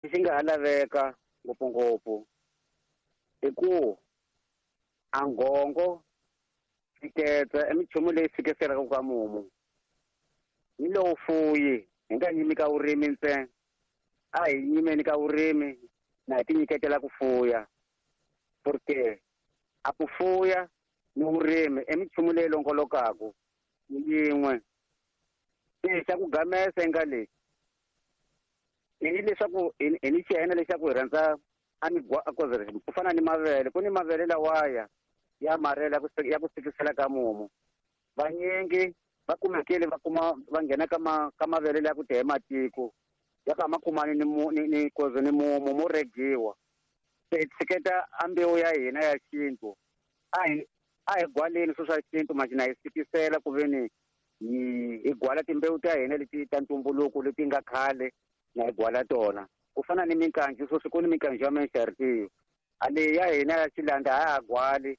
Lexi nga ha laveka ngopfungopfu i ku a ngongo tshiketsa i minchumu leyi fikiselaka ka mumu ni lowu fuyi hi nga yimi ka vurimi ntsena a hi yimeni ka vurimi na hi tinyiketela ku fuya porque a ku fuya ni vurimi i minchumu leyi longolokaku yin'we se xa ku gamesa nga lexi i ni leswaku hi ni xihena lexaku hi rhandza a migwa ku fana ni mavele ku ni mavele lawaya ya marela ya ku sikisela ka mumu vanyingi va kumekile va kuma va nghena ka ma ka mavele ya ku tehe matiko ya ka ma kumani ni ni ni koze ni mumu mo regiwa se hi tshiketa a mbewu ya hina ya xintu a hi gwaleni swo swa xintu maxina hi sikisela ku veni hi gwala timbewu ta hina leti ta ntumbuluko leti nga khale na hi gwala tona ku fana ni minkanju sweswi ku ni minkanju ya menxaritiyo a leyi ya hina ya xilanda a ha gwali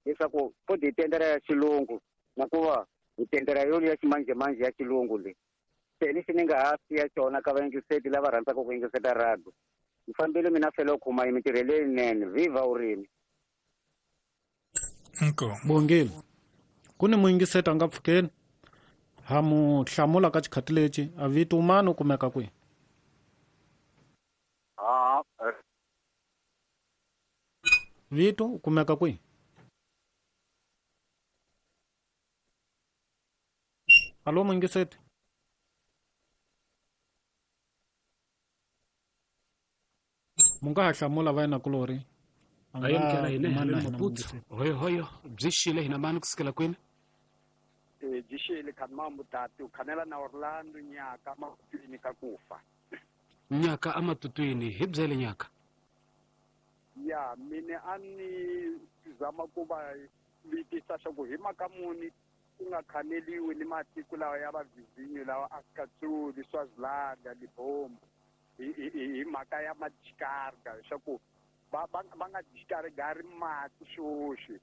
leswaku fodi hi tendera ya xilungu na ku va hi tendera yo ya ximanjhemanjhe ya xilungu leyi se lexi ni nga ha siya xona ka vayingiseti lava rhandzaka ku yingiseta radio ni fambile mina fela u khuma yi mintirho leyinene viva vurimi. Inkomu. Bongile ku ni muyingiseti a nga pfukeni ha mu hlamula ka xikhati lexi a vito mani u kumeka kwihi? Vito u kumeka kwihi? Alo muyingiseti. Mu nga ha hlamula va yena-kulorhi. A A yamukela nga hina mani hi na le hina Maputo. muyingiseti. Hoyohoyo byi xile hina mani kusukela kwini? Byi xile khani mutati u khanela na Orlando nyaka matutwini ka kufa. Nyaka amatutwini hi byele nyaka. Ya mine a ni zama ku va vitisa swa ku hi mhaka muni ku nga khaneliwi ni matiko lawa ya vavizinyo lawa Afrika-Tsuli, Swaziland, Libombo hi mhaka ya madikarga leswaku va va va nga dikarigari mati swoswi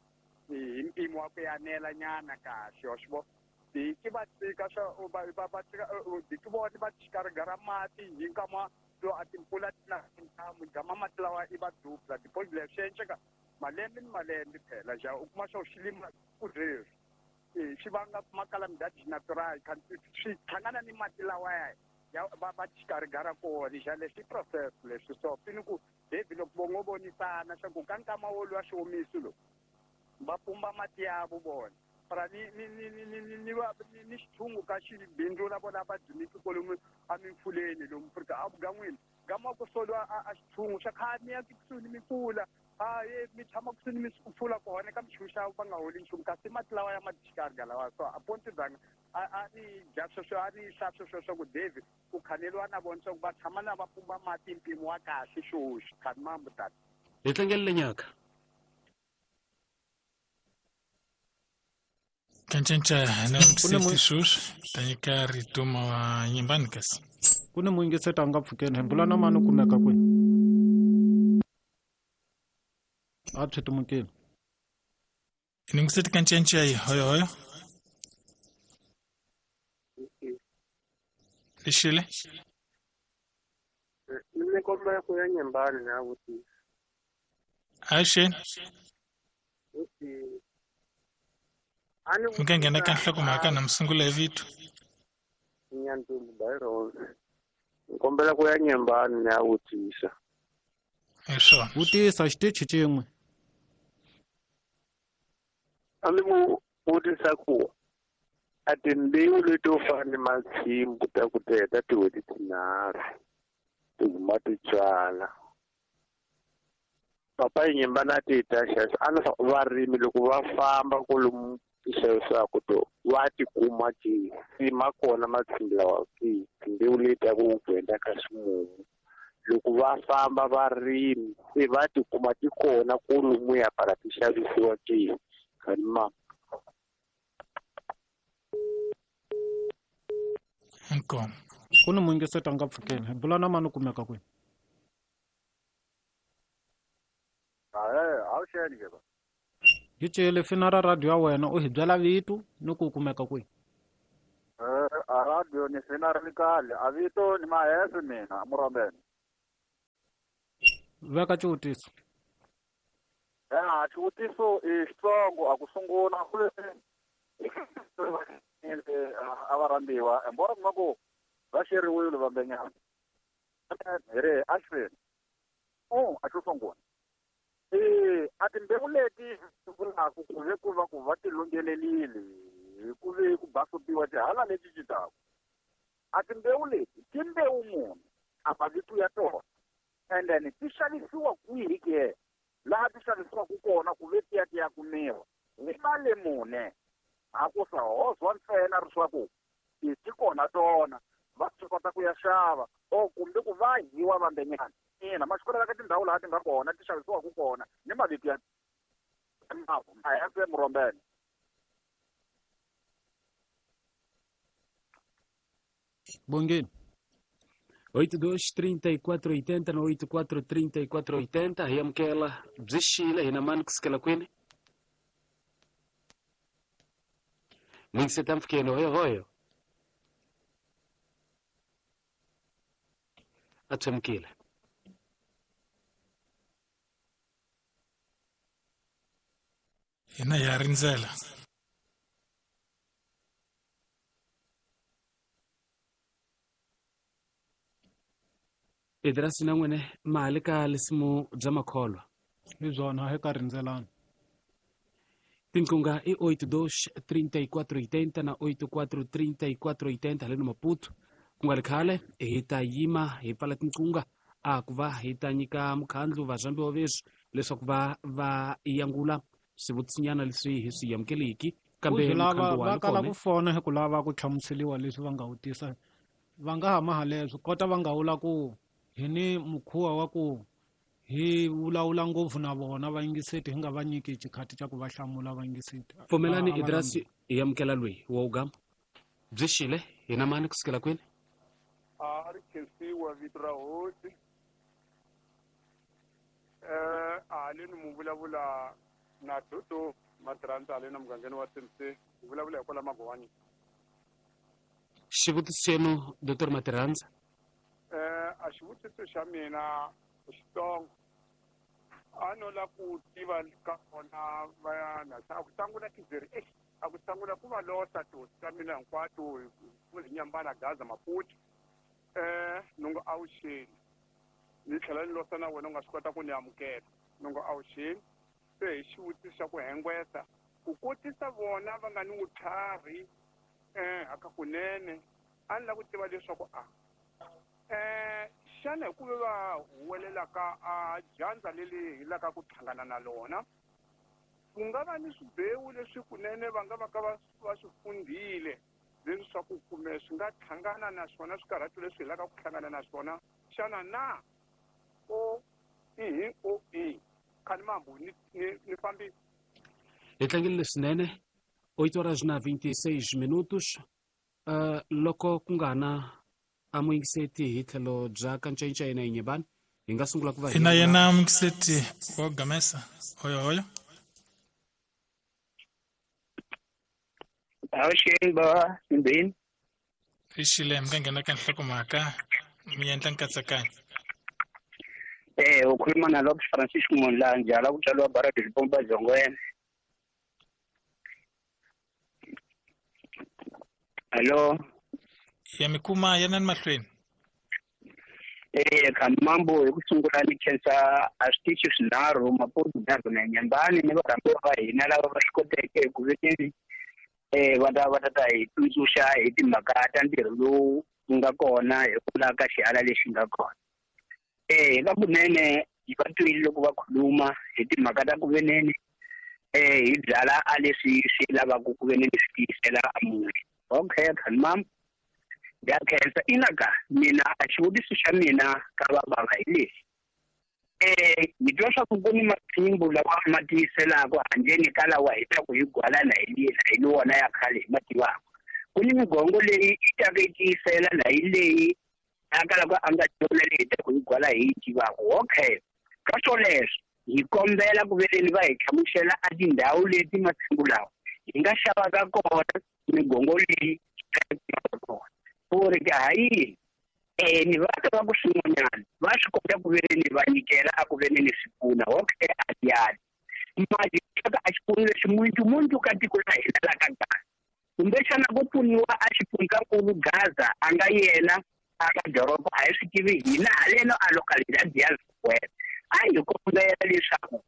hi mpimo wa ku yanela nyana kahle wa swi vona ki va tshika swa va va va tshika ki vona va dikarigara mati hi nkama lowu a timpfula ti na ntamu gama mati lawa i va dubla deposit leyi swi endleka malembe ni malembe phela ja u kuma swa xilima ku sweswi swi vanga makalamidadi natural swi hlangana ni mati lawa ya va va dikarigara kona ja leswi process leswi so pini ku David loko vo ngo vonisana swa ku ka nkama wo lwa xiwomiso lowu va pumba mati ya vo vona para ni ni ni ni ni ni ni va ni ni xithungu ka xibindzu la vona va dzimiki kwalomu emimfuleni lomu Afrika a vugan'wini gama ku soliwa a xithungu xa khale mi ya kusuhi ni mimpfula a ye mi tshama kusuhi ni mimpfula kona ka minchumu xa va nga holi nchumu kasi mati lawa ya madikarga lawa so a ponti dzanga a ni dya sweswo a ni hla sweswo swa ku David ku khaneliwa na vona swa ku va tshama na va pumba mati mpimo wa kahle swoswi khani mambo tata. Hi tlangelele nyaka. Kancinca na muyingiseti sweswi ta nyika rito ma nyimbani kasi. Ku ni muyingiseti a nga pfukeni hi bula na mani u kumeka kwihi? A tshwitimukile. Yingiseti kancinca yi hoyohoyo. Lexile. Ni kombela ku ya nyimbani na vutisa. Axeni. Mi nga nghena ka nhlokomhaka na mi sungula hi vito. Nyandzumbu Byron. Ni kombela ku ya nyimbani na vutisa. Hi swona. Vutisa xitichi xin'we. A ni mu vutisa ku a timbewu leto fana ni matshimbu ta ku teta tin'hweti tinharhu ti huma ti tswala. Papa yi nyimba na ti ta xexo a ni varimi loko va famba kwalomu ti xavisaka to va ti kuma ti ma kona matshimbu lawa ki timbewu leti ta ku ku ka ximumu loko va famba varimi se va ti kuma ti kona kwalomu ya pala ti xavisiwa ke khani ma. Inkomu. Ku ni muyingiseti a nga pfukeni hi bula na mani u kumeka kwihi? Hi cele fina ra radio ya wena u hi byela vito ni ku kumeka kwihi? A radio ni fina ri kahle a vito ni Mahese mina Murambeni. Veka xivutiso. Ya, xivutiso i xitsongo a ku sungula ku a va rhambiwa embora kuma ku va xeriwile vambenyana hi ri a xifeni a xo sungula a timbewu leti vulaka ku ve ku va ku va ti lunghelelile hi ku ve ku basopiwa tihala leti cincaku a timbewu leti timbewu munhu a mavito ya tona and then ti xavisiwa kwihi ke laha ti xavisiwaka kona ku ve ti ya kumiwa hi mali mune a ku sa hozwa ntsena leswaku ti kona tona va swi kota ku ya xava o kumbe ku va hiwa vambenyana ina ma swi ka tindhawu laha ti nga kona ti xavisiwaka kona ni mavito ya a ya murombene. Bongeni. 82 34 80 na 84 34 80 hi amukela byi xile hina mani kusukela kwini mingiseta mpfukeni hoyo hoyo a tshwemukile hina ya rindzela Idrasi na n'wene mali ka lisimu bya makholwa hi byona hi ka rindzelana tinqunga i 82 34 80 na 84 34 80 haleno Maputo ku nga ri khale hi ta yima hi pfala tinqunga a ku va hi ta nyika mukhandlu varhambiwa veswi leswaku va va yangula swivutisinyana leswi hi swi amukeleki kambe lava va kala ku fona hi ku lava ku hlamuseriwa leswi va nga vutisa va nga ha maha leswi kota va nga vula ku hi ni mukhuva wa ku hi vulavula ngopfu na vona vayingiseti hi nga va nyiki xikhati xa ku va hlamula vayingiseti. Pfumelani Idrasi hi amukela loyi wa ugama byi xile hina mani kusukela kwini a ri khensiwa vito ra hosi haleni mu vulavula na Dodo Matirhandza haleni mugangeni wa CMC hi vulavula hi kwala Magwani. Xivutiso xenu Dr Matirhandza. A xivutiso xa mina xitsongo a no la ku tiva ka kona vana a ku sangula tizeri a ku sangula ku va losa tihosi ta mina hinkwato ku Nyambana Gaza Maputo nungo awuxeni ni tlhela ni losa na wena u nga swi kota ku ni amukela nungo awuxeni se hi xivutiso xa ku hengwesa ku kotisa vona va nga ni vutlhari aka kunene a ni la ku tiva leswaku a xana hi ku ve va huwelelaka a dyandza leri hi laka ku hlangana na lona ku nga va ni swibewu leswi kunene va nga va ka va swi fundhile leswaku kumbe swi nga hlangana na swona swikarhato leswi hi laka ku hlangana na swona xana na o i o i khani mambu ni fambi. Hi tlangile leswinene 8 horas na 26 minutos loko ku nga na a muyingiseti hi tlhelo bya kancayincayi na Inyebani hi nga sungula ku va hina yena muyingiseti wa gamesa hoyo hoyo. Avuxeni bava Simbeni. I xile mi nga nghena ka nhlokomhaka mi endla nkatsakanyo. U khuluma na Lopes Francisco Monlanja la ku tswariwa Baradi Lipomba Zongwena. Hello. Ya mi kuma yana ni mahlweni. Khamambo hi ku sungula ni khensa a switichi swinharhu Maputo Gaza na Nyambani ni varhambiwa va hina lava va swi koteke hi ku vekeni va ta hi tsundzuxa hi timhaka ta ntirho lowu nga kona hi ku lava ka xihala lexi nga kona. Hi kunene hi va twile loko va khuluma hi timhaka ta ku veneni hi byala a leswi swi lavaka ku veneni swi tiyisela a munhu. Okay, khamam. Ya khensa inaka mina a xivutiso xa mina ka va bava hi lexi. Hi twa swa ku ku ni matshimbu lawa ma tiyiselaka handleni ka lawa hi ta ku hi gwala na hi lena hi wona ya khale hi ma tivaka. Ku ni migongo leyi yi taka yi tiyisela na hi leyi a kalaka a nga yona leyi hi ta ku hi gwala hi yi tivaka. Okay, ka swoleswo hi kombela ku veleni va hi hlamusela a tindhawu leti matshimbu lawa hi nga xavaka kona migongo leyi kona. Ku ri ka ha yini Ni va twa ku swin'wanyana va swi kota ku veni va nyikela a ku veni ni swi pfuna okay a yali mali ka a xipfuno lexi muntu ka tiko la hina la ka Gaza kumbexana ku pfuniwa a xifundzankulu Gaza a nga yena a ka doroba a hi swi tivi hina haleno a localidad ya Square a hi kombela leswaku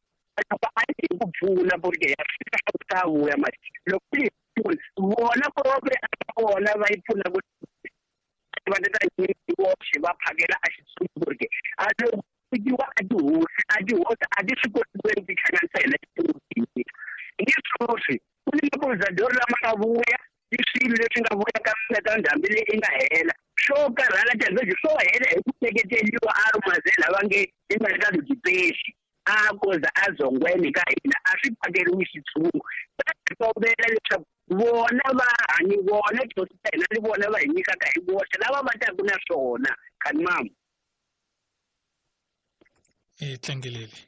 loko a hi ku pfuna porque ya fika swa ku ta vuya mali loko yi pfuna vona propre a vona va yi pfuna ku va ta voxe va phakela a xitshungu porque a loko fikiwa a tihosi a ti swi koti ku ti hlanganisa hina xitshungu ni swoswi ku ni mapolizadori lama nga vuya i swilo leswi nga vuya ka ka ndhambi leyi i nga hela swo karhala tanihi swo hela hi ku seketeriwa a ri mazela va nge i nga ka lujipexi a koza a zongweni ka hina a swi phakeriwi xitshungu va kombela leswaku vona va hanyi vona tihosi ta hina ni vona va hi nyikaka hi voxe lava va taku na swona khanimamu hi tlangelele.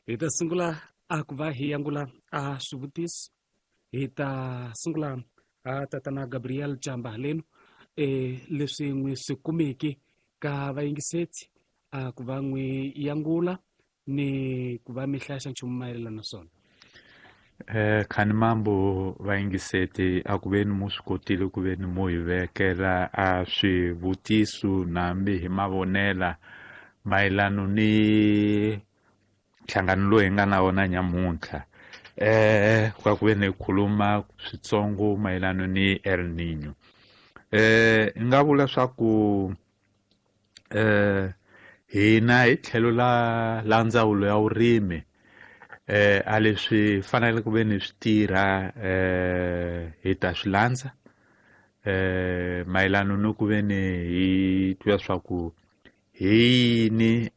Hi ta sungula a ku va hi yangula a swivutiso hi ta sungula a tatana Gabriel Chamba haleno leswi n'wi swi kumeke ka vayingisetsi a ku va n'wi yangula ni ku va mi hlaya xa nchumu mayelana na swona. Khanimambo vayingiseti a ku veni mu swi kotile ku veni mu hi vekela a swivutiso nambi hi mavonela mayelano ni nhlangano lowu hi nga na wona nyamuntlha kwa ku veni hi khuluma switsongo mayelano ni El Niño. Nga vula swa ku hina hi tlhelo la ndzawulo ya vurimi a leswi fanele ku ve ni swi tirha hi ta swi landza mayelano ni ku ve ni hi twa swa ku hi yini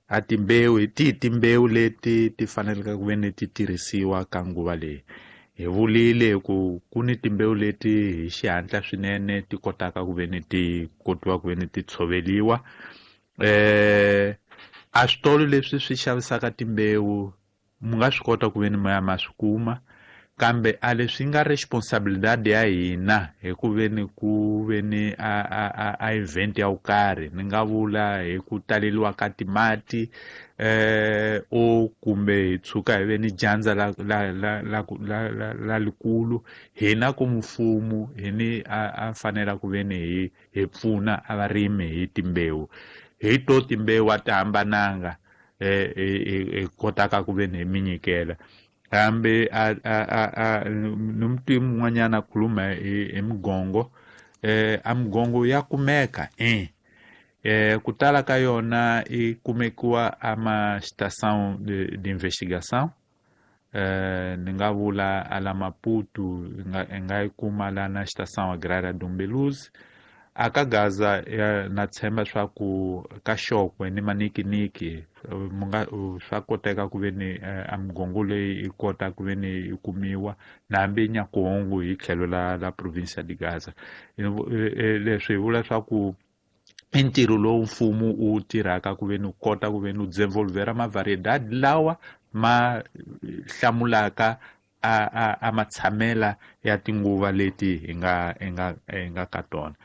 a timbewu hi tihi timbewu leti ti faneleke ku ve ni ti tirhisiwa ka nguva leyi. Hi vulile ku ku ni timbewu leti hi xihatla swinene ti kotaka ku ve ni ti kotiwa ku ve ni ti tshoveliwa. A switolo leswi swi xavisaka timbewu mu nga swi kota ku ve ni ma ya ma swi kuma, kambe a leswi nga responsabilidade ya hina hi ku ve ni ku ve ni a event ya vukarhi ni nga vula hi ku taleliwa ka timati o kumbe hi tshuka hi ve ni dyandza la likulu hina ku mfumo hi ni a fanela ku ve ni hi pfuna a varimi hi timbewu. Hi to timbewu a ti hambananga hi kotaka ku ve ni hi mi nyikela. Kambe ni mutivi mun'wanyana a khuluma hi migongo a migongo ya kumeka ku tala ka yona i kumekiwa a ma estação de investigação ni nga vula a la Maputo i nga yi kuma la na estação agrária do Umbeluzi. A ka Gaza na tshemba swa ku ka Xokwe ni Manikiniki munga swa koteka ku ve ni a migongo leyi i kota ku ve ni yi kumiwa na hambi Nyakuhungu hi tlhelo la province de Gaza. Leswi hi vula swa ku i ntirho lowu mfumo wu tirhaka ku ve ni u kota ku ve ni u desenvolvera ma-variedade lawa ma hlamulaka a matshamela ya tinguva leti hi nga ka tona.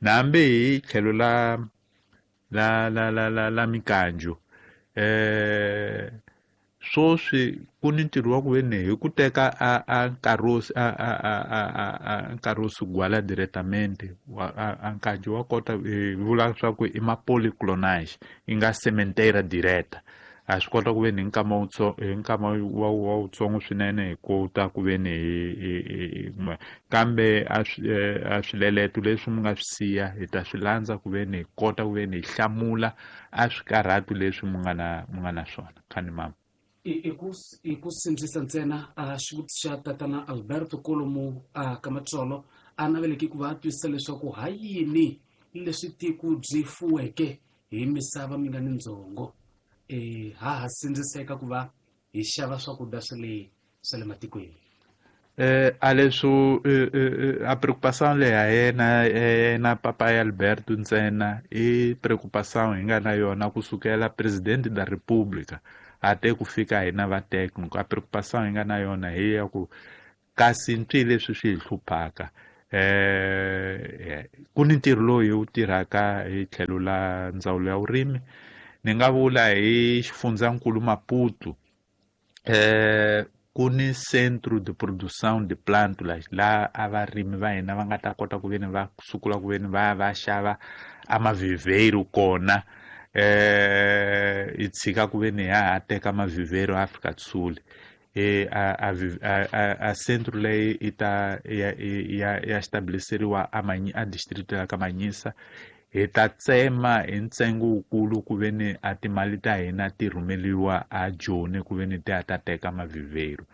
Na hambi hi tlhelo la la la la la la mikanjo swoswi ku ni ntirho wa ku ve ni hi ku teka a nkarhi a nkarhi wo sugwala directamente a nkanjo wa kota hi vula swa ku i ma polyclonage yi nga sementeira direta. A swi kota ku ve ni hi nkama wa wutsongo swinene hi kota ku ve ni hi kambe a swileleto leswi mi nga swi siya hi ta swi landza ku ve ni hi kota ku ve ni hi hlamula a swikarhatu leswi mi nga na swona. Khani mama i ku sindzisa ntsena a xivutiso xa tatana Alberto Kolomo a Kamatsolo a naveleke ku va a twisisa leswaku ha yini leswi tiko byi fuweke hi misava mi nga ni ndzhongo ha sindziseka ku va hi xava swakudya swa le matikweni. A leswo a preocupação leyi a yena papai Alberto ntsena i preocupação hi nga na yona kusukela presidente da República ate ku fika hina va técnico. A preocupação hi nga na yona hi ya ku kasi ntwi leswi swi hi hluphaka Ku ni ntirho lowu hi wu tirhaka hi tlhelo la ndzawulo ya vurimi. Ni nga vula hi xifundzankulu Maputo, ku ni centro de produção de plântulas laha a varimi va hina va nga ta kota ku veni va sukula ku veni va ya va xava a maviveiro kona. Hi tshika ku veni ha ha teka maviveiro Afrika do Sul. A centro leyi i ta ya stabiliseriwa a district ya ka Manyisa. Hi ta tsema hi ntsengo wukulu ku veni a timali ta hina ti rhumeliwa a Joni ku veni ti ya ta teka maviveiro.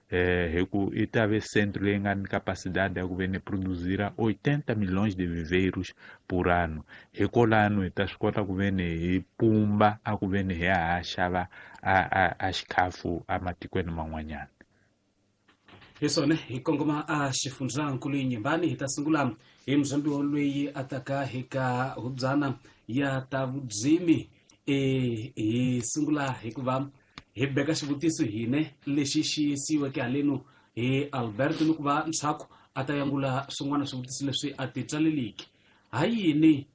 Hi ku i ta ve centro leyi nga ni capacidade ya ku veni produzira 80 milhões de viveiros por ano. Hikwalano hi ta swi kota ku veni hi pumba a ku veni hi ya ha xava a xikhafu ematikweni man'wanyana. Hi swona hi kongoma a xifundzankulu Inhambane. Hi ta sungula hi muzambiwa loyi a taka hi ka hubyana ya ta vudzimi. Hi sungula hikuva hi beka xivutiso hine lexi xi siyiweke haleno hi Alberto ni ku va ntshaku a ta yangula swin'wana swivutiso leswi a ti tswaleliki. Ha yini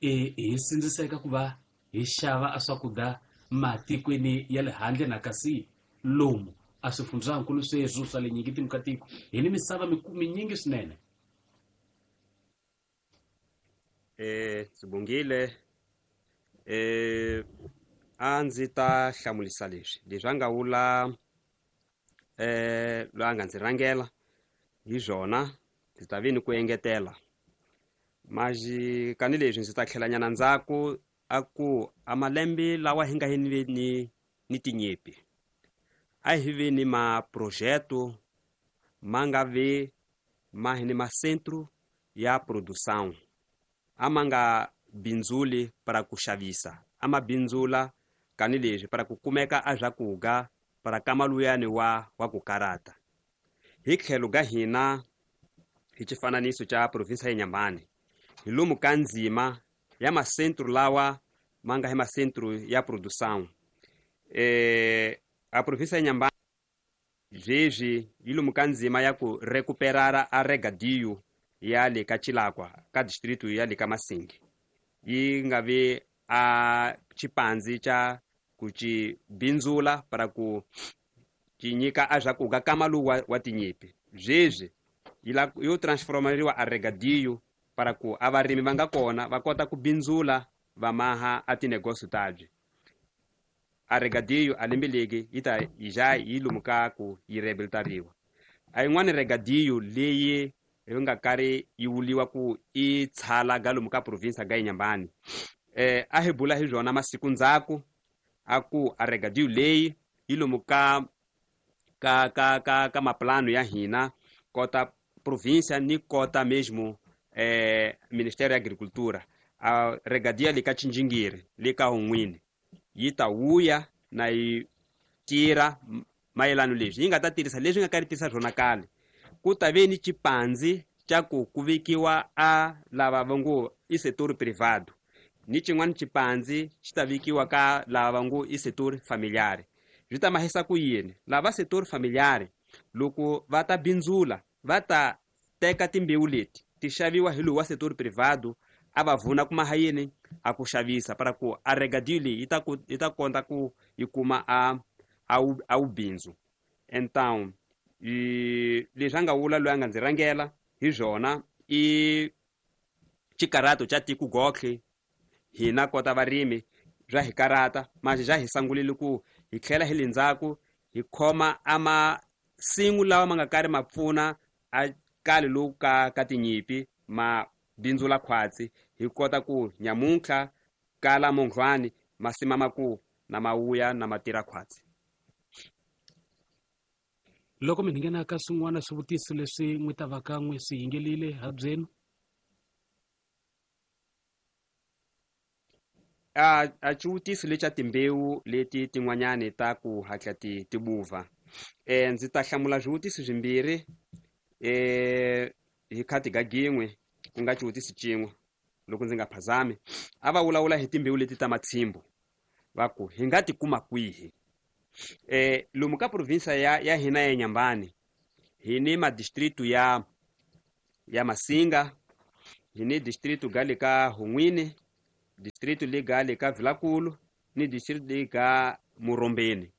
hi sindziseka ku va hi xava a swakudya matikweni ya le handle na kasi lomu a swifundzankulu sweswo swa le nyingi ka tiko hi ni misava minyingi swinene? Sibongile, a ndzi ta hlamulisa leswi a nga vula loyi a nga ndzi rhangela hi swona, ndzi ta vi ni ku engetela maji kani leswi ndzi ta tlhelanyana ndzhaku a ku a malembe lawa hi nga hi ni tinyipi a hi vi ni maprojeto ma nga vi ma hi ni macentro ya produção, a ma nga bindzuli para ku xavisa, a ma bindzula kani leswi para ku kumeka a swakudya para kama luyani wa ku karata. Hi tlhelo ga hina hi xifananiso xa provinsi ya Inhambane hi lomu ka ndzima ya macentro lawa ma nga hi macentro ya produção. A provinsi ya Inhambane sweswi yi lomu ka ndzima ya ku recuperara a regadio ya le ka Chilakwa ka distrito ya le ka Masingi, yi nga vi a xipandzi xa ku ci bindzula para ku ci nyika a swakudya kama lowu wa tinyipi. Sweswi yo transformeriwa a regadio para ku a varimi va nga kona va kota ku bindzula va maha a tinegócio tabye. A regadio a lembe legi yi ta yi ja yi lomu ka ku yi rehabilitariwa. A yin'wani regadio leyi yi nga karhi yi vuliwa ku i tshala ga lomu ka provinsi ga Inhambane, a hi bula hi byona masiku ndzhaku a ku a regadio leyi yi lomu ka ka ka ka ka maplano ya hina kota província ni kota mesmo Ministério ya Agricultura. A regadia le ka Txinjingiri le ka Hun'wini yi ta wuya na yi tirha mayelano leswi yi nga ta tirhisa leswi nga ka ri tirhisa swona kale. Ku ta ve ni xipandzi xa ku ku vekiwa a lava va ngo i setor privado, ni xin'wana xipandzi xi ta vekiwa ka lava va ngo i setor familiar. Swi ta mahisa ku yini? Lava setor familiar loko va ta bindzula va ta teka timbewu leti ti xaviwa hi lowu wa setor privado a va vuna kuma ha yini a ku xavisa para ku a regadio leyi yi ta kota ku yi kuma a wu bindzu. Então leswi a nga vula loyi a nga ndzi rhangela hi swona i xikarato xa tiko gotlhe hina kota varimi bya hi karata manje bya hi sangulile ku hi tlhela hi le ndzhaku hi khoma a masimu lawa ma nga karhi ma pfuna a kale lowu ka tinyipi ma bindzula khwatsi hi kota ku nyamuntlha kala munghwani masima maku na mawuya na matira khwatsi. Loko mi nghena ka swin'wana swivutiso leswi n'wi ta va ka n'wi swi yingelile ha byenu. A xivutiso lexa timbewu leti tin'wanyani ta ku hatla ti buva. Ndzi ta hlamula swivutiso swimbirhi hi khati ga gin'we ku nga xivutiso xin'we loko ndzi nga phazami. A va vulavula hi timbewu leti ta matshimbu va ku hi nga ti kuma kwihi. Lomu ka provinsi ya hina ya Inhambane hi ni madistritu ya ya Masinga, hi ni distrito ga le ka Hun'wini, distrito le ga le ka Vilakulu ni distrito le ka Murombeni.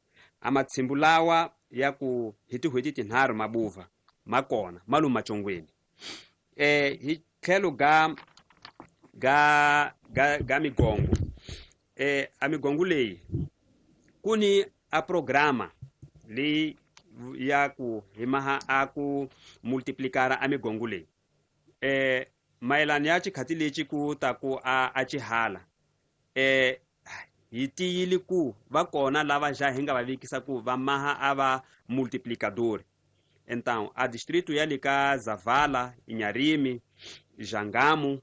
A matshimbu lawa ya ku hi tin'hweti tinharhu mabuva ma kona ma lomu macongweni. Hi tlhelo ga ga ga ga migongo, a migongo leyi ku ni a programa leyi ya ku hi maha a ku multiplicara a migongo leyi. Mayelana ya xikhati lexi ku ta ku a xihala, hi tiyile ku va kona lava ja hi nga va vekisa ku va maha a va multiplicador. Então a distrito ya le ka Zavala, Inharime, Jangamo,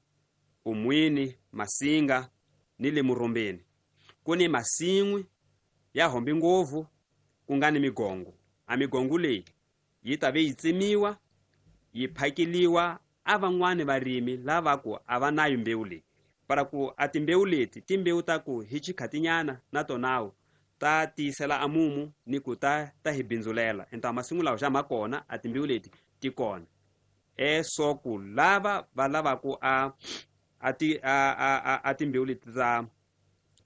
Umwini, Masinga ni le Murombeni ku ni masin'wi ya hombi ngopfu ku nga ni migongo. A migongo leyi yi ta ve yi tsemiwa yi phakeliwa a van'wani varimi lava ku a va nayo mbewu leyi, para ku a timbewu leti timbewu ta ku hi xikhatinyana na tonawo ta tiyisela a mumu ni ku ta hi bindzulela. Então masin'wi lawa xa ma kona, a timbewu leti ti kona. So ku lava va lavaku a timbewu leti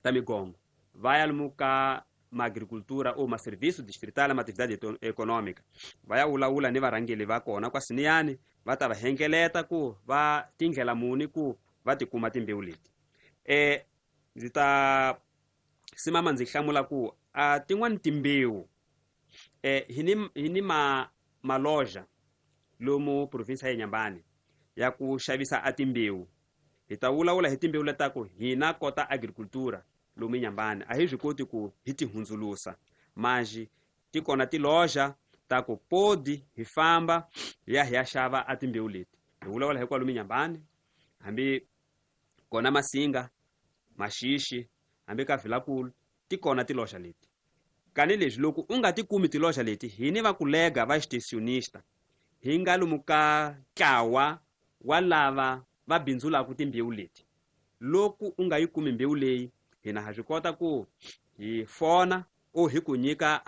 ta migongo va ya lomu ka maagricultura ou maserviço distrital ma atividade econômica, va ya vulavula ni varhangeli va kona kwa Siniyani, va ta va hengeleta ku va tindlela muni ku va tikuma timbewu leti. Ndzi ta simama ndzi hlamula ku a tin'wani timbewu hi ni maloja lomu province ya Inhambane ya ku xavisa a timbewu. Hi ta vulavula hi timbewu leta ku hina kota agricultura lomu Inhambane a hi swi koti ku hi ti hundzulusa, manji ti kona tiloja ta ku podi hi famba hi ya hi ya xava a timbewu leti. Hi vulavula hi kwalomu Inhambane, hambi kona Masinga, Maxixi, hambi ka Vilakulu ti kona tiloja leti. Kani leswi loko u nga ti kumi tiloja leti, hi ni va kulega va extensionista hi nga lomu ka ntlawa wa lava va bindzulaka timbewu leti. Loko u nga yi kumi mbewu leyi, hina ha swi kota ku hi fona o hi ku nyika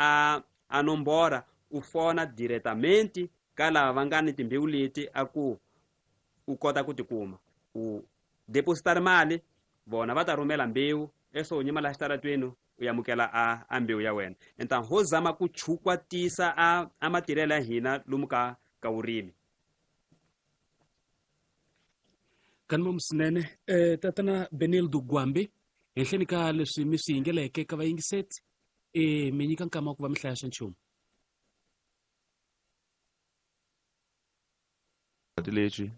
a nombora, u fona diretamente ka lava va nga ni timbewu leti a ku u kota ku tikuma. U depositar mali, vona va ta rhumela mbewu, eso u nyima laha xitaratweni u amukela a mbewu ya wena. Então ho zama ku chukwatisa a matirhelo ya hina lomu ka vurimi. Kanima swinene tatana Benildo Gwambi, henhleni ka leswi mi swi yingeleke ka vayingiseti, mi nyika nkama wa ku va mi hlaya xa nchumu. Lexi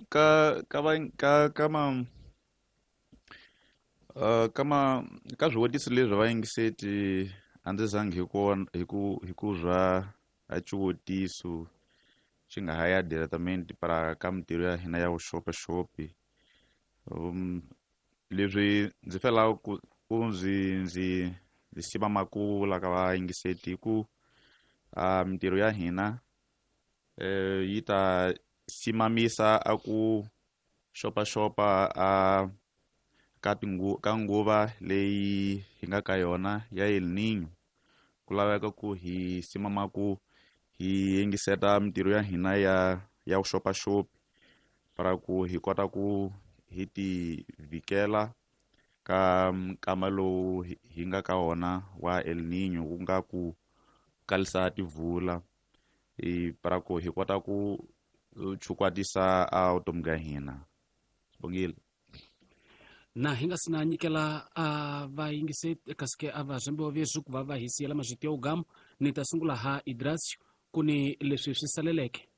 ka ka va ka ka ma ka ma ka swivutiso leswi vayingiseti a ndzi zangi hi ku zwa a xivutiso xi nga ha ya diretamente para ka mintirho ya hina ya vuxopaxopi. Leswi ndzi felaka ku ndzi siva makula ka vayingiseti hi ku mintirho ya hina yi ta simamisa a ku xopaxopa a ka nguva leyi hi nga ka yona ya El Niño. Ku laveka ku hi simama ku hi yingiseta mintirho ya hina ya vuxopaxopi para ku hi kota ku hi ti vikela ka nkama lowu hi nga ka wona wa El Niño, ku nga ku kalisa tivula, para ku hi kota ku chukwatisa a vutomi bya hina. Sibongile. Na hi nga si na nyikela a vayingiseti kasi a va zvambiwa veswi ku va va hi siyela mazviti ya ugamu, ni ta sungula ha Idrasio ku ni leswi swi saleleke.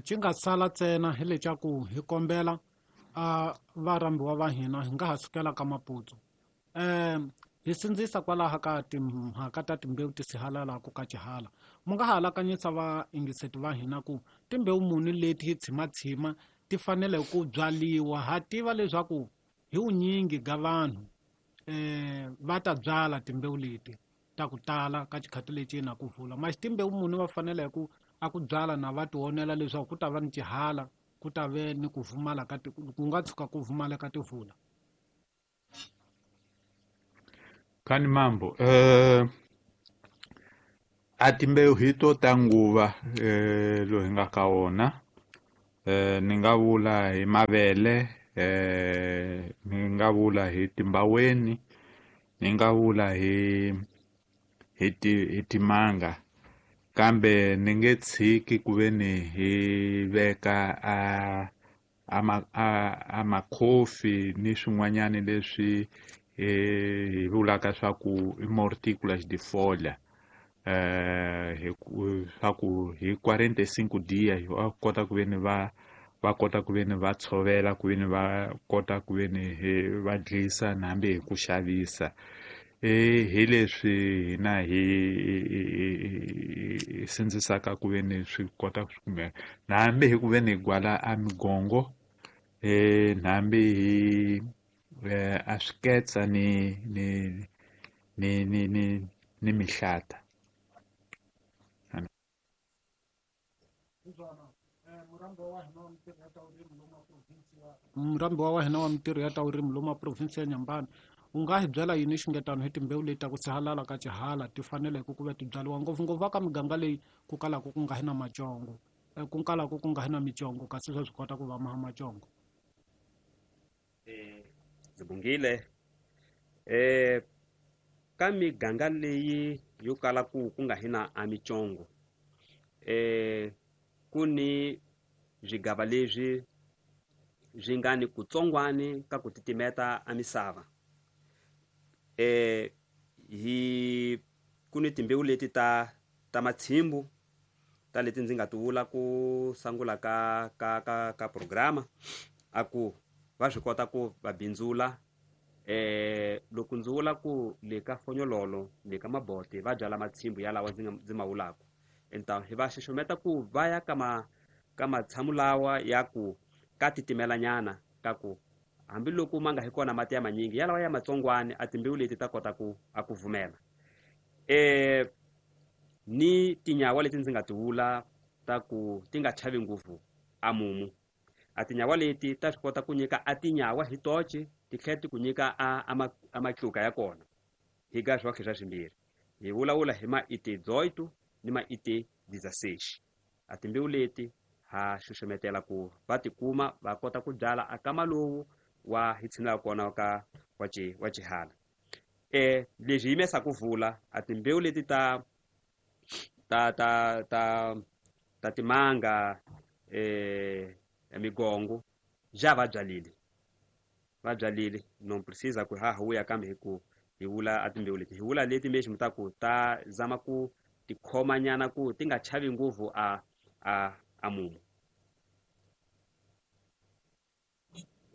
Xi nga sala ntsena hi leswaku hi kombela a varhambiwa va hina hi nga ha sukela ka Maputo. Hi sindzisa kwalaho ka timhaka ta timbewu ti sihalalaku ka xihala. Mu nga ha alakanyisa vayingiseti va hina ku timbewu muni leti hi tshimatshima ti fanele ku byaliwa. Ha tiva leswaku hi vunyingi ga vanhu va ta byala timbewu leti ta ku tala ka xikhati lexi na ku vula. Masi timbewu muni va fanele ku a ku byala na va tionela leswaku ku ta va ni xihala, ku ta ve ni ku vumala ka ku nga tshuka ku vumaleka tivula. Kani mambo A timbewu hi to ta nguva lowu hi nga ka wona. Ni nga vula hi mavele, ni nga vula hi timbaweni, ni nga vula hi timanga, kambe ni nge tshiki ku ve ni hi veka a makhofi ni swin'wanyani leswi hi vulaka swa ku i mortículas de folha, swa ku hi 45 dias va kota ku ve ni va kota ku ve ni va tshovela, ku ve ni va kota ku ve ni va dlisa na hambi hi ku xavisa. Hi leswi hina hi sindzisaka ku ve ni swi kota ku kumeka, na hambi hi ku ve ni hi gwala a migongo, na hambi hi a swiketsa ni ni ni ni ni ni mihlata. Murambiwa wa hina wa mintirho ya ta vurimi lomu province ya Nyambani, u nga hi byela yini xingetano hi timbewu leti ta ku sihalala ka xihala ti faneleke ku va ti byariwa ngopfungopfu ka miganga leyi ku kalaka ku nga hi na macongo, ku kalaka ku nga hi na micongo, kasi swa swi kota ku va maha macongo? Ndzi bungile ka miganga leyi yo kala ku nga hi na a micongo, ku ni swigava leswi swi nga ni kutsongwani ka ku titimeta a misava. Hi ku ni timbewu leti ta matshimbu ta leti ndzi nga ti vula ku sungula ka ka ka ka programa, a ku va swi kota ku va bindzula. Loko ndzi vula ku le ka fonyololo le ka mabote va byala matshimbu yalawa ndzi ma vulaka, então hi va xaxameta ku va ya ka matshamu lawa ya ku ka titimelanyana, ka ku hambiloko ma nga hi kona mati ya manyingi yalawa ya matsongwani a timbewu leti ta kota ku a ku vumela. Ni tinyawa leti ndzi nga ti vula ta ku ti nga chavi ngopfu a mumu, a tinyawa leti ta swi kota ku nyika a tinyawa hi toce, ti tlhela ti ku nyika a matluka ya kona hi ga swa swa swimbirhi. Hi vulavula hi ma ite 18 ni ma ite 16. A timbewu leti ha xuxumetela ku va tikuma va kota ku byala a kama lowu wa hi tshinela kona ka wa xihala. Leswi yimesa ku vula a timbewu leti ta ta ta ta ta timanga, migongo ja va byalile, non precisa ku ha huya kambe hi ku hi vula a timbewu leti, hi vula leti mesmo ta ku ta zama ku tikhomanyana ku ti nga chavi ngopfu a a mumu.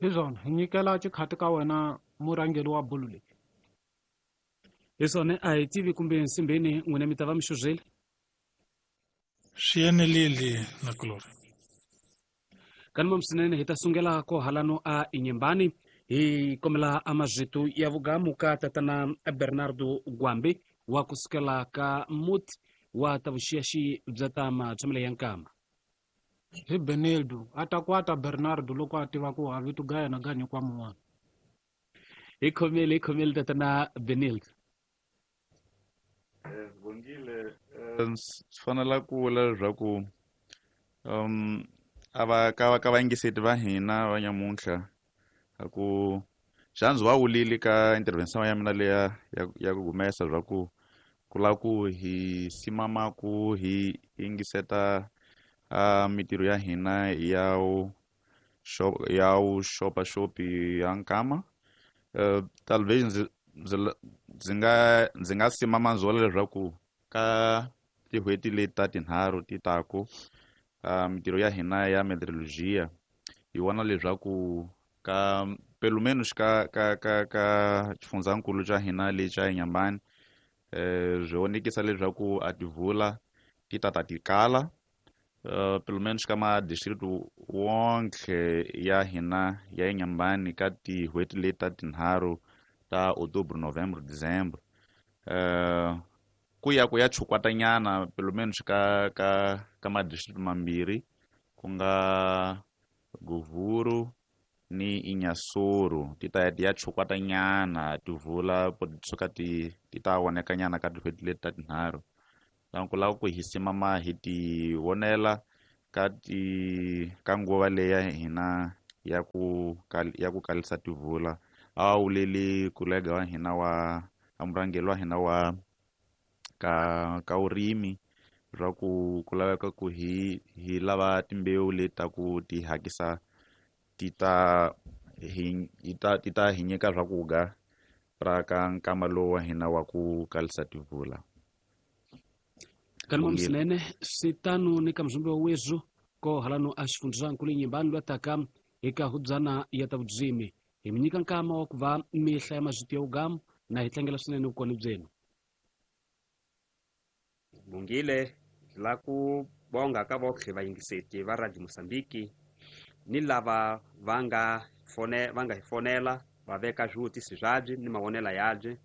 Hi swona hi nyikela xikhati ka wena murhangeri wa bulu leyi. Hi swona a hi tivi kumbe nsimbeni n'wina mi ta va mi xuzile. Swi enelile na kulori. Kanuma swinene hi ta sungela ko halano a Inhambane hi kombela a mazvitu ya vugamu ka tatana Bernardo Gwambe wa kusukela ka muti wa ta vuxiyaxi bya ta matshamelo ya nkama. Hi Benildo a ta kwata Bernardo loko a tiva ku a vito ga yena ga nyikwa mun'wana. Hi khomele tatana Benildo. Bongile, swi fanela ku vula leswaku a va ka vayingiseti va hina va nyamuntlha a ku xandzi wa wulile ka intervention ya mina leya ya ku humesa swa ku ku lava ku hi simama ku hi yingiseta mintirho ya hina ya ya xopaxopi ya nkama. Talvez ndzi nga simama ndzi vula leswaku ka tin'hweti leti ta tinharhu ti taku mintirho ya hina ya meteorologia hi vona leswaku ka pelo menos ka ka ka ka xifundzankulu xa hina lexi xa Inhambane, swi vonekisa leswaku a tivula ti tata ti kala, pelo menos ka madistrict wonke ya hina ya Inhambane ka tin'hweti leti ta tinharhu ta Outubro, Novembro, Dezembro, ku ya chukwatanyana pelo menos ka ka ka madistrict mambirhi ku nga Govuro ni Inhassoro, ti ta ya chukwatanyana tivula suka ti ta vonekanyana ka tin'hweti leti ta tinharhu. Ku lava ku hi simama hi ti vonela ka ti ka nguva leya hina ya ku kalisa tivula. A wuleli kolega wa hina wa murhangeri wa hina wa ka urimi swa ku laveka ku hi lava timbewu leti ta ku ti hakisa ti ta hi nyika swakudya ra ka nkama lowu wa hina wa ku kalisa tivula. Kanimam swinene swi tano ni ka muzumbi wa wezu ko halano a xifundzankulu Inhambane lwataka eka hubyana ya ta vudzimi hi mi nyika nkama wa ku va mi hlaya mazwiti ya ugamu na hi tlangela swinene vukona byenu. Bungile la ku bonga ka votlhe vayingiseti va Radio Mozambique ni lava va nga hi fonela va veka swivutiso swabye ni mavonelo yabye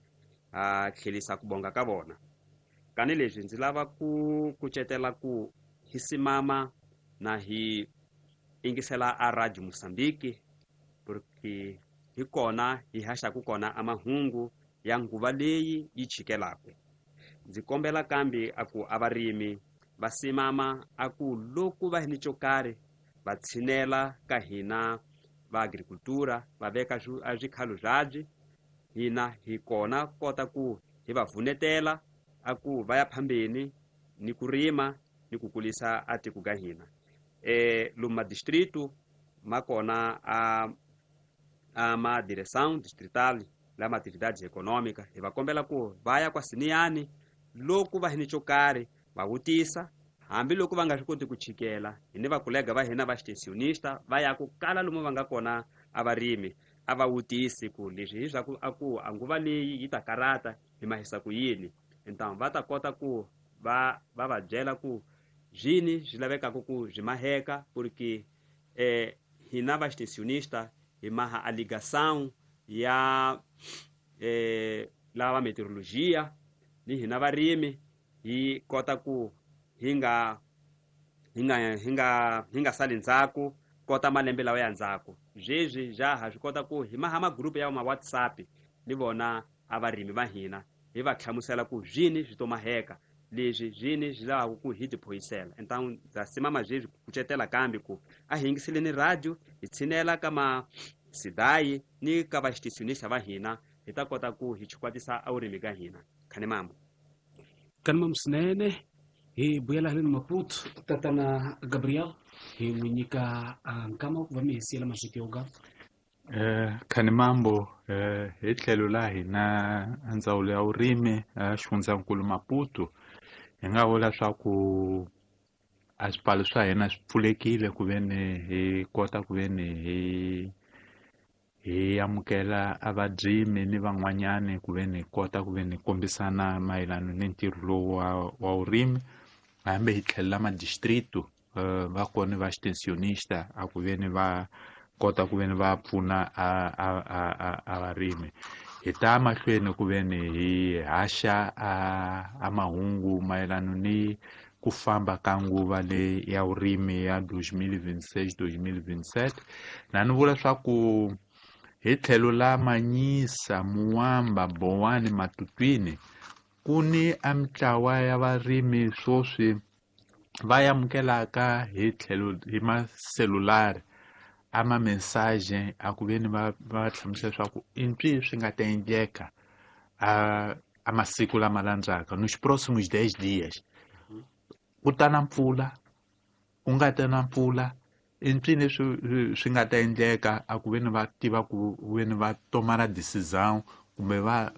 a tlhelisa ku bonga ka vona. Kani leswi ndzi lava ku kucetela ku hi simama na hi ingisela a Radio Mozambique porque hi kona hi haxaku kona a mahungu ya nguva leyi yi chikelaka. Ndzi kombela kambe a ku a varimi va simama a ku loko va hi ni xo karhi va tshinela ka hina va agricultura va veka swikhalo swabye hina hi kona kota ku hi va vunetela a ku va ya phambeni ni ku rima ni ku kulisa a tiko ka hina. Lomu madistrito ma kona a ma direção distrital la atividades econômica hi va kombela ku va ya kwa siniyani loko va hi ni xo karhi va vutisa hambiloko va nga swi koti ku chikela hi ni vakolega va hina va extensionista va ya ku kala lomu va nga kona a varimi a va vutisi ku leswi hi swa ku a ku a nguva leyi yi ta karata hi mahisa ku yini. Então va ta kota ku va va byela ku zwini swi lavekaka ku byi maheka porque hina va extensionista hi maha a ligação ya lava meteorologia ni hina varimi hi kota ku hi nga sali ndzhaku kota malembe lawa ya ndzhaku. Zwezwi ja ha swi kota ku hi maha magrupu ya ma WhatsApp ni vona a varimi va hina hi va hlamusela ku zwini swi to maheka leswi zwini swi lavaka ku hi tiphoyisela. Então ndza simama zwezwi ku kucetela kambe ku a hi yingiseleni radio hi tshinela ka ma sidayi ni ka va extensionista va hina hi ta kota ku hi chikwatisa a vurimi ka hina. Khanimambo. Kanimambo swinene hi vuyela haleni Maputo tatana Gabriel hi n'wi nyika nkama ku va mi hi siyela mazwiti yo gama. Khanimambo hi tlhelo la hina ndzawulo ya vurimi xifundzankulu Maputo hi nga vula swa ku a swipfalo swa hina swi pfulekile ku veni hi kota ku veni hi amukela a vadyimi ni van'wanyani ku veni hi kota ku veni hi kombisana mayelana ni ntirho lowu wa vurimi. Hambi hi tlhelela madistrito va kona va extensionista a ku veni va kota ku veni va pfuna a varimi. Hi ta mahlweni ku veni hi haxa a mahungu mayelana ni ku famba ka nguva leyi ya vurimi ya 2026-2027. Na ni vula swa ku hi tlhelo la Manyisa, Muwamba, Bowani, Matutwini ku ni a mitlawa ya varimi swoswi va amukelaka hi tlhelo hi maselulari a ma mensagem a ku veni va hlamusela leswaku i mpfi swi nga ta endleka a masiku lama landzaka nos próximos 10 dias ku ta na mpfula ku nga ta na mpfula i mpfi leswi swi nga ta endleka a ku veni va tiva ku veni va tomara decisão kumbe va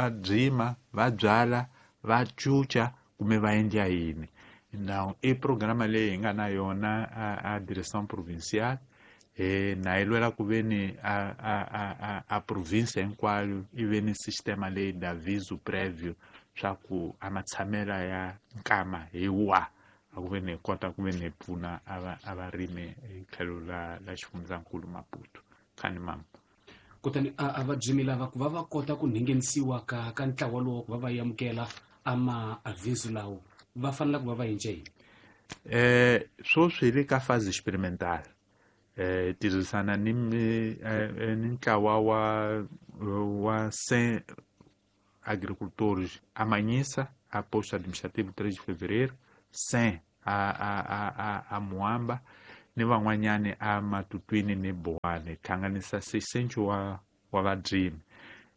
byima va byala va cuca kumbe va endla yini. Now i programa leyi hi nga na yona a direção provincial na yi lwela ku veni a province hinkwayo i ve ni sistema leyi da aviso prévio swa ku a matshamela ya nkama hi wa a ku veni hi kota ku veni hi pfuna a varimi hi tlhelo la xifundzankulu Maputo. Khanimambo. Kutani a vabyimi lava ku va va kota ku nghenisiwa ka ntlawa lowu ku va va amukela a ma aviso lawo va fanele ku va va endla yini? Swoswi hi le ka phase experimental. Tirhisana ni ntlawa wa 100 agricultores a Manhissa, a posto administrativo 3 de fevereiro, 100 a Muamba, ni van'wanyani a Matutwini ni Boane, hlanganisa 600 wa vadrimi.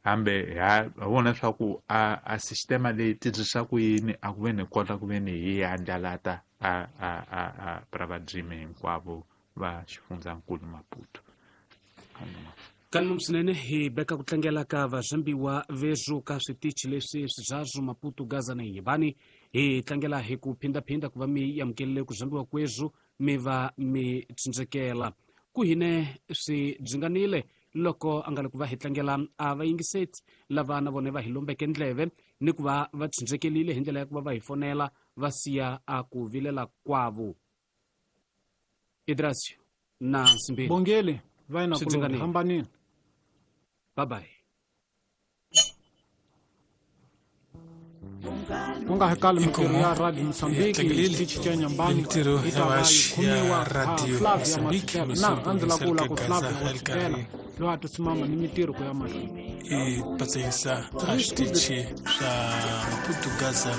Hambe ha vona swa ku a sistema leyi tirhisa ku yini a ku ve ni kota ku ve ni hi andlalata a pra vadrimi hinkwavo va xifundzankulu Maputo. Kanuma swinene hi beka ku tlangela ka vazambiwa vezu ka switichi leswi swizazwu Maputo, Gaza na Inhambane. Hi tlangela hi ku phindaphinda ku va mi amukelele ku zambiwa kwezu mi va mi tsindzekela ku hine swi byinganile loko a nga le ku va hi tlangela a vayingiseti lava na vona va hi lombeke ndleve ni ku va va tsindzekelile hi ndlela ya ku va va hi fonela va siya a ku vilela kwavo. Idrasio na Nsimbeni Bongele va na ku hambanile. Bye bye. Ku nga hakali mintirho ya Radio Mozambique xitichi xa Inhambane mintirho yi ta va yi khomiwa Radio Flavia Mozambique Masekela na a ndzi la ku vula ku Flavia Masekela loyi a tisimama ni mintirho ku ya mahlweni i patsahisa a switichi swa Maputo, Gaza.